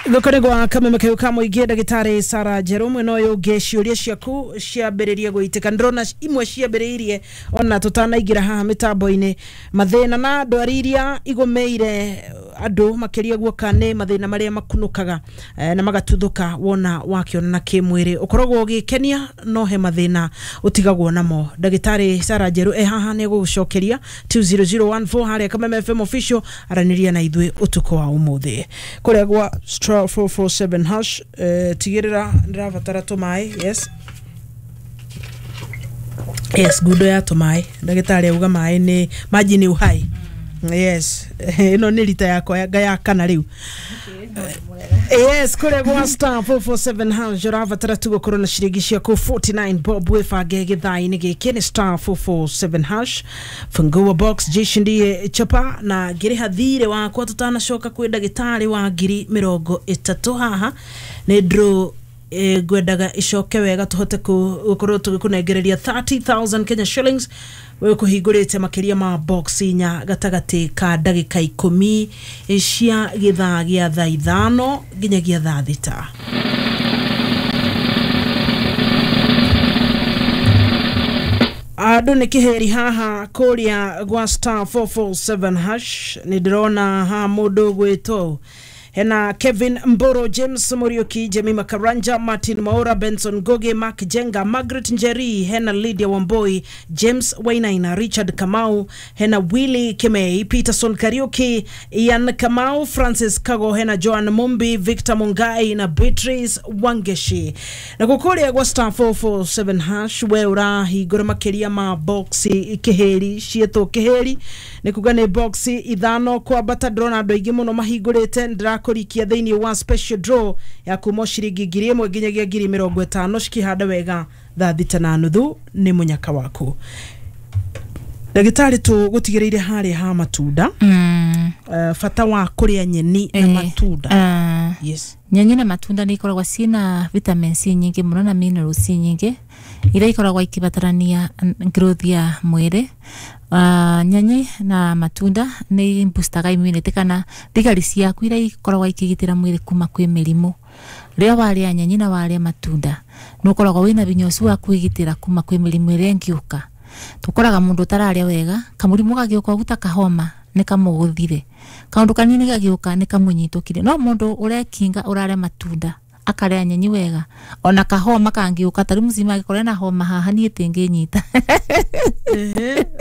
Thoko gwa kameme kau ka mũingĩ, ndagĩtarĩ Sara Njerũ mwena ũyũ ũngĩ, ciũria ciaku ciambĩrĩrie gũitĩka. Ndĩrona imwe ciambĩrĩirie ona tũtanaingĩra haha mĩtambo-inĩ. Mathĩna na ndwari iria igũmĩire andũ makĩria guoka nĩ mathĩna marĩa makunũkaga na magatuthũka wona wakĩonana kĩmwĩrĩ, ũkoragwo ũgĩkenia no he mathĩna ũtigagwo namo. Ndagĩtarĩ Sara Njerũ e haha nĩ egũgũcokeria. 20014 harĩa Kameme FM official, aranĩria na ithuĩ ũtukũ wa ũmũthĩ kũrĩa gwa star 447 hash. Tigĩrĩra ndĩrabatara tũmaĩ. Yes, ngundo ya tũmaĩ. Ndagĩtarĩ auga maĩ nĩ maji ni uhai. Yes, ĩno nĩ rita yakwa ya kana rĩu. Yes, kũrĩa gwa star 447 hash ũrabatara tu gũkorwo na ciringi ciaku 49 bob, wĩbange gĩthaa-inĩ gĩkĩ. Nĩ star 447 hash, fungua box, jishindie chapa na ngĩrĩha thirĩ wakwa tũtanacoka kwĩ ndagĩtarĩ wa 30,000 haha nĩ draw. Ngwendaga icoke wega tuhote gũkorwo tũgĩkũnengereria 30,000 Kenya shillings. We kũhingũrĩte makĩria ma box inya gatagatĩ ka ndagĩka 10 cia gĩthaa gĩa thaa 5 nginyagia thaa 6. Andũ nĩ kĩheri haha kũrĩa gwa star 447 hash. Nĩ ndĩrona haha mũndũ ũgwĩtwo hena Kevin Mboro, James Muriuki, Jemima Karanja, Martin Maura, Benson Goge, Mark Jenga, Margaret Njeri, hena Lydia Wamboi, James Wainaina, Richard Kamau, hena Willy Kimei, Peterson Kariuki, Ian Kamau, Francis Kago, hena Joan Mumbi, Victor Mungai na Beatrice Wangeshi. Na gũkũrĩa gwa star 447 hash, we ũrahingũra makĩria ma boxi kĩhĩri ciĩtwo kĩhĩri, nĩ kuga nĩ boxi 5 kwambata. Ndĩrona andũ aingĩ mũno mahingũrĩte. Ndĩrakũrikia thĩinĩ wa special draw ya kuma ciringi 1,000 nginyagia 50,000, cikĩhanda wega thaa 6:30 nĩ mũnyaka waku. Ndagĩtarĩ, tũgũtigĩrĩire harĩa ha matunda, bata wa kũrĩa nyeni na matunda. Yes. Nyeni na matunda nĩ ikoragwo ciĩna vitamin C nyingĩ mũno na minerals nyingĩ iria ikoragwo ikibatarania growth ya mwĩrĩ. Nyeni na matunda nĩ boostaga immunity kana thigari ciaku iria ikoragwo ikĩgitĩra mwĩrĩ kuma kwĩ mĩrimũ. Rĩrĩa warĩa nyeni na warĩa matunda, nĩ ũkoragwo wĩna hinya ũcio wa kwĩgitĩra kuma kwĩ mĩrimũ ĩrĩa ĩngĩũka. Tũkoraga mũndũ ũtararĩa wega, kamũrimũ gagĩũka ũguo ta kahoma nĩ kamũgũthire, kaũndũ kanini gagĩũka nĩ kamũnyitũkire. No mũndũ ũrekinga, ũrarĩa matunda, akarĩa nyeni wega, ona kahoma kangĩũka, ta rĩu mũcima angĩkorwo ena homa haha, niĩ tingĩnyita.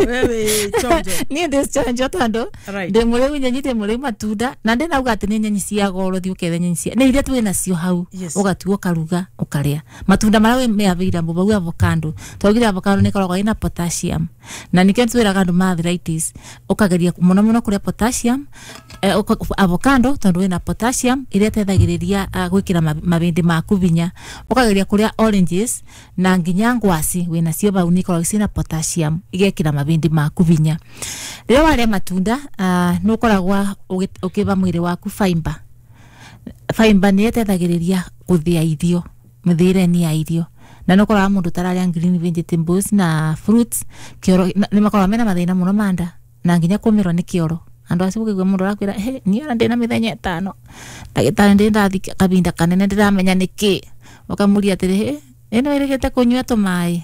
Wewe chonjo. Niĩ ndĩ chonjo tondũ ndĩ mũrĩu nyeni, ndĩ mũrĩu matunda, na ndĩnauga atĩ nĩ nyeni cia goro thiĩ ũkethe nyeni cia nĩ iria twĩ nacio hau. Ũgatua, ũkaruga, ũkarĩa matunda marĩa me available bau. Avocado, twaugire avocado nĩ ĩkoragwo ĩna potassium, na nĩkĩo twĩraga andũ ma arthritis ũkageria mũno mũno kũrĩa potassium, avocado, tondũ ĩna potassium ĩrĩa ĩteithagĩrĩria gwĩkĩra mabĩndĩ maku hinya. Ũkageria kũrĩa oranges na nginya ngwaci wĩnacio bau, nĩ ikoragwo ciĩna potassium, igekĩra mabĩndĩ maku hinya. Rĩrĩa warĩa matunda, nĩ ũkoragwo ũkĩva mwĩrĩ waku fiber. Fiber nĩ ĩteithagĩrĩria gũthĩa irio, mĩthĩre-inĩ ya irio, na nĩ ũkoraga mũndũ ũtararĩa green vegetables na fruits kĩoro nĩ makoragwo mena mathĩna mũno ma nda na nginya kũmĩrwo nĩ kĩoro. Andũ acio ũkĩigua mũndũ arakwĩra, "He, niĩ ona ndĩna mĩthenya 5, ndagĩtarĩ, ndĩ ndathi kahinda kanene, ndĩramenya nĩkĩ." Ũkamũria atĩrĩ, "Hĩ, ĩno ĩrĩgĩte kũnyua tũmaĩ?"